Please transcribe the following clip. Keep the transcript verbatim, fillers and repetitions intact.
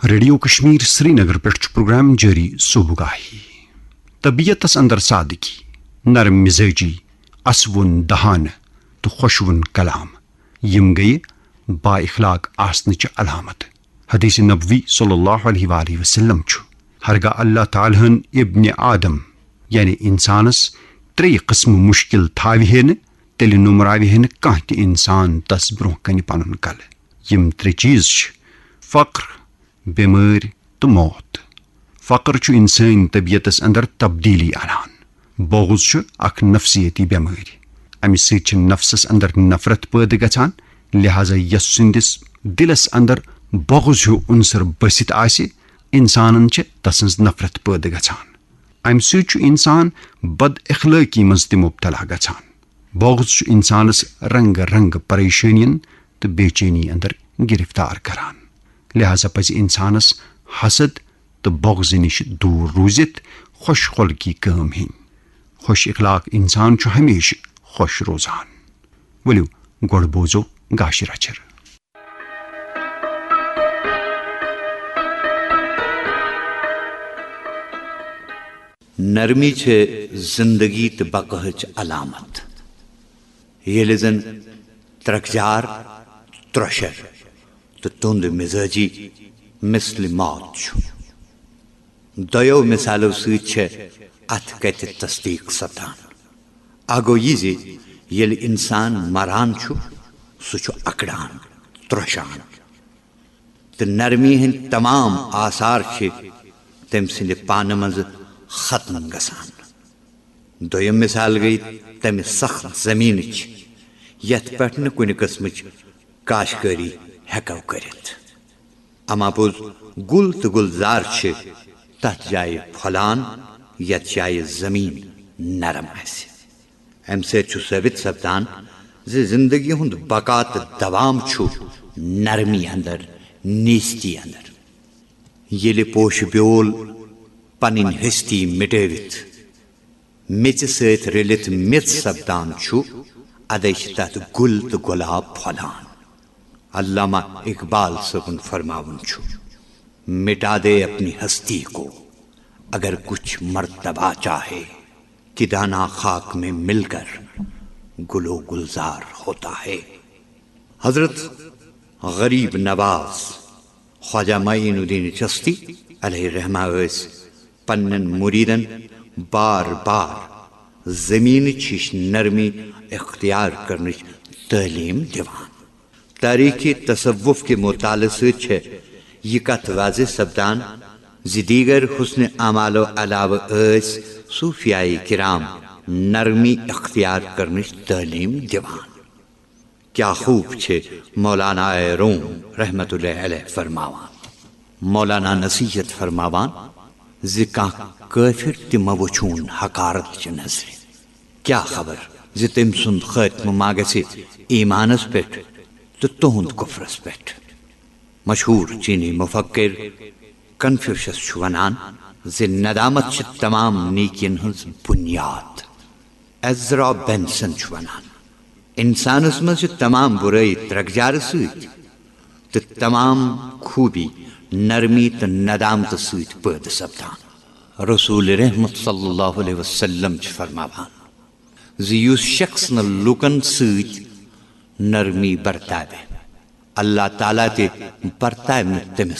Radio Kashmir Srinagar پٮ۪ٹھ چھُ programme جٲری صبح گاہی۔ طبیعتس اندر سادگی، نرم مزاجی، اسوُن دہانہٕ تہٕ خۄشوُن کلام، یِم گٔیہِ با اخلاق آسنٕچہِ علامت۔ حدیث نبوی صلی اللہ علیہ وآلہ وسلم چھُ، ہرگاہ اللہ تعالیٰ ہن ابن آدم، یعنی انسانس، ترٛیٚیہِ قٕسمہٕ مُشکل تھاوِ ہے نہٕ، تیٚلہِ نومراوِ ہے نہٕ کانٛہہ تہِ انسان تس برونٛہہ کنہِ پنُن کلہٕ۔ یِم ترٛےٚ چیز چھِ: فقر، بیمٲرۍ تہٕ موت۔ فقر چھُ انسٲنی طبیعتس اندر تبدیلی انان۔ بغض چھُ اکھ نفسیٲتی بیمٲرۍ۔ امہِ سۭتۍ چھِ نفسس اندر نفرت پٲدٕ گژھان، لہذا یس سٕنٛدِس دلس اندر بغض ہیو عنصر بٔسِتھ آسہِ، انسانن چھِ تسٕنٛز نفرت پٲدٕ گژھان۔ امہِ سۭتۍ چھُ انسان بد اخلٲقی منٛز تہِ مبتلا گژھان۔ بغض چھُ انسانس رنگ رنگ پریشٲنین تہٕ بے چینی اندر گرفتار کران۔ لہذا پزِ انسانس حسد تہٕ بغض نِش دوٗر روٗزِتھ خۄش خلقی کٲم ہیٚنۍ۔ خۄش اخلاق انسان چھُ ہمیشہِ خۄش روزان۔ ؤلِو، گۄڈٕ بوزو گاشہِ رچھر۔ نرمی چھِ زندگی تہٕ بقاہٕچ علامت۔ ییٚلہِ زن ترکجار، ترۄشر تہٕ تُند مزاجی مثل موت چھُ۔ دۄیو مثالو سۭتۍ چھےٚ اتھ کتھِ تصدیق سپدان۔ اکھ گوٚو یہِ زِ ییٚلہِ انسان مران چھُ، سُہ چھُ اکڑان، ترۄشان۔ تہٕ نرمی ہٕنٛدۍ تمام آثار چھِ تٔمۍ سٕنٛدِ پانہٕ منٛزٕ ختم گژھان۔ دوٚیِم مثال گٔے تَمہِ سخت زٔمیٖنٕچ، یَتھ پٮ۪ٹھ نہٕ کُنہِ قٕسمٕچ کاشتکٲری ہٮ۪کو کٔرِتھ۔ اما پوٚز، گُل تہٕ گُلزار چھِ تَتھ جایہِ پھۄلان، یَتھ جایہِ زٔمیٖن نرم آسہِ۔ امہِ سۭتۍ چھُ ثٲبت سپدان زِ زندگی ہُنٛد بقا تہٕ دوام چھُ نرمی اندر، نیستی اندر۔ ییٚلہِ پوشہِ بیول پنٕنۍ ہستی مٹٲوِتھ میژِ سۭتۍ رٔلِتھ میژ سپدان چھُ، ادے چھِ تتھ گُل تہٕ گۄلاب پھۄلان۔ علامہ اقبال صٲبُن فرماوُن چھُ، مٹا دے اپنی ہستی کو، اگر کچھ مرتبہ چاہے، کہ دانا خاک میں مل کر گل و گلزار ہوتا ہے۔ حضرت غریب نواز خواجہ معین الدین چشتی علیہ رحمہ ٲسۍ پننٮ۪ن مریدن بار بار زمینٕچ ہِش نرمی اختیار کرنٕچ تعلیٖم دِوان۔ تاریخ تصوف کہِ مطالعہٕ سۭتۍ چھےٚ یہِ کتھ واضح سپدان زِ دیگر حسن اعمالو علاوٕ ٲسۍ صوفیاے کرام نرمی اختیار کرنٕچ تعلیٖم دِوان۔ کیا خوب چھِ مولانا روم رحمت اللہ علیہ فرماوان۔ مولانا نصیحت فرماوان زِ کانٛہہ کٲفر تہِ مہ وٕچھون حقارت چہِ نظرِ۔ کیا خبر زِ تٔمۍ سُنٛد خٲتمہٕ ما گژھِ ایمانس پٮ۪ٹھ تہٕ تُہنٛد کفرس پٮ۪ٹھ۔ مشہوٗر چینی مفکر کنفیوشس چھُ ونان زِ ندامت چھِ تمام نیکین ہٕنٛز بنیاد۔ ایزرا بینسن چھُ ونان، انسانس منٛز چھِ تمام برٲیی ترکجارٕ سۭتۍ تہٕ تمام خوٗبی نرمی تہٕ ندامتہٕ سۭتۍ پٲدٕ سپدان۔ رسول رحمت صلی اللہ علیہ وسلم چھُ فرماوان زِ یُس شخص نہٕ لوٗکن سۭتۍ نرمی برتاوِ، اللہ تعالیٰ تہِ برتاوِ نہٕ تٔمِس